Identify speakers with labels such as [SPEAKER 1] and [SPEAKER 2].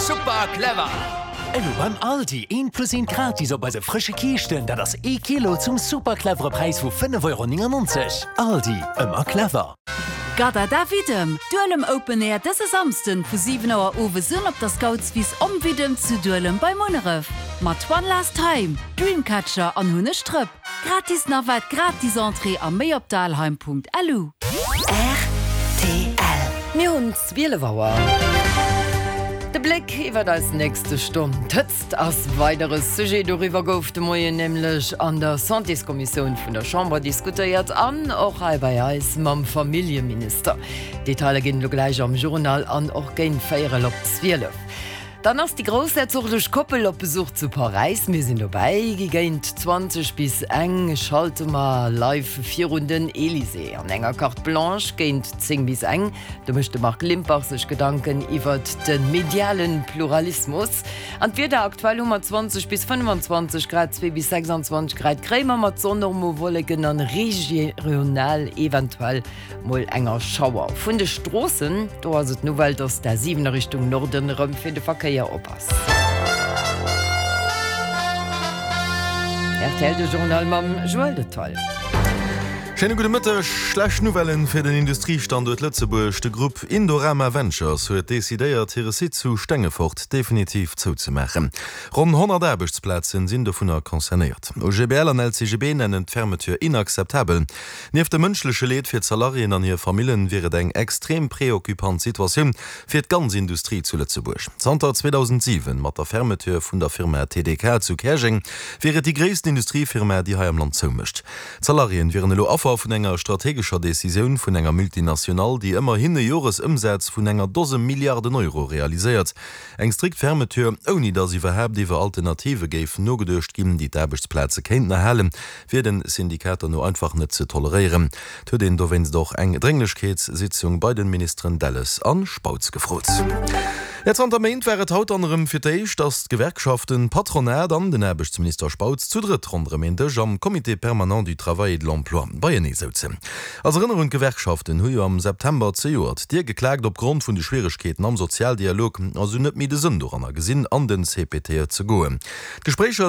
[SPEAKER 1] Super clever!
[SPEAKER 2] Elo beim Aldi, eent plus eent gratis op eise frësche Kiischten, dat ass ee Kilo zum super clevere Präis vu 5,99 Euro. Aldi, ëmmer clever!
[SPEAKER 3] Gadada Widdem, Duelem Open Air dëse Samsden vu 7 Auer owes un op der Scoutswiss Om Widdem zu Duelem bei Munneref. Mat One Last Time, Dreamcatcher an Hunneg Drëpp. Gratis Navette, gratis Entrée a méi op dalheim.lu.
[SPEAKER 4] Rtl. Mir hunn 12 Auer. De Bléck iwwert eis nächste Stonn. D'Hëtzt ass weider e Sujet. Doriwwer gouf de Moien nämlech an der Santéskommissioun vun der Chamber diskutéiert an och hei bei eis mam Familljeminister. Detailer ginn elo gläich am Journal an och géint véierel op 12. Dann ass déi groussherzoglech Koppel op Besuch zu Paräis. Mir sinn dobäi. Géint 20 bis eng schalte mer live virun den Elysée. An enger Carte Blanche géint 10 bis eng, do mécht de Marc Limpach sech Gedanken iwwert de mediale Pluralismus. An d'Wieder, Aktuell hu mer 20 bis 25 Grad, 2 bis 26 Grad kréie mer mat Sonn, och mol Wolleken an regional eventuell Mol enger Schauer. Vun de Stroossen, do ass et d'Nouvelle, dass d'A7 a Richtung Norden erëm fir de Verkéier op ass. Rtl, de Journal mam Joël Detaille.
[SPEAKER 5] Schéine gudde Mëtteg. Schlecht Nouvellen fir den Industriestanduert Lëtzebuerg, De Grupp Indorama Ventures huet decidéiert, hire Site zu Stengefort definitiv zouzemaachen. Ronn 100 Aarbechtsplazen sinn dovunner concernéiert. OGBL an LCGB nennen d'Fermeture inakzeptabel. Nieft dem mënschleche Leed fir d'Salariéen an hir Famillen, wier et eng extrem preoccupant Situatioun fir d'ganz Industrie zu Lëtzebuerg. Zanter 2007, mat der Fermeture vun der Firma TDK zu Käerjeng, wier et déi gréissten Industriefirma, déi hei am Land zoumécht. D'Salariéen wieren elo Affer vun enger strategescher Decisioun vun enger Multinationale, déi ëmmerhin e Joresëmsaz vun enger Dose Milliarden Euro realiséiert. Eng strikt Fermeture, ouni datt iwwerhaapt iwwer Alternative géif nogeduecht ginn, déi d'Aarbechtsplaze kéinten erhalen, wier den Syndikater no einfach net ze toleréieren. Et huet een dowéinst och eng Drénglechkeetssitzung bei den Ministeren Delles an Spautz gefrot. Jo, zanter Méint war et haut dann erëm fir d'éischt, datt d'Gewerkschaften, d'Patronat an den Aarbechtsminister Spautz zu drëtt ronderëm een Dësch am Comité permanent du travail et de l'emploi beienee souzen. Als Erënnerung, d'Gewerkschaften hu jo am September zejoert d'Dier geklaakt opgrond vun de Schwieregkeeten am Sozialdialog a se hunn net méi de Sënn doranner gesinn, an den CPTE ze goen. D'Gespréicher.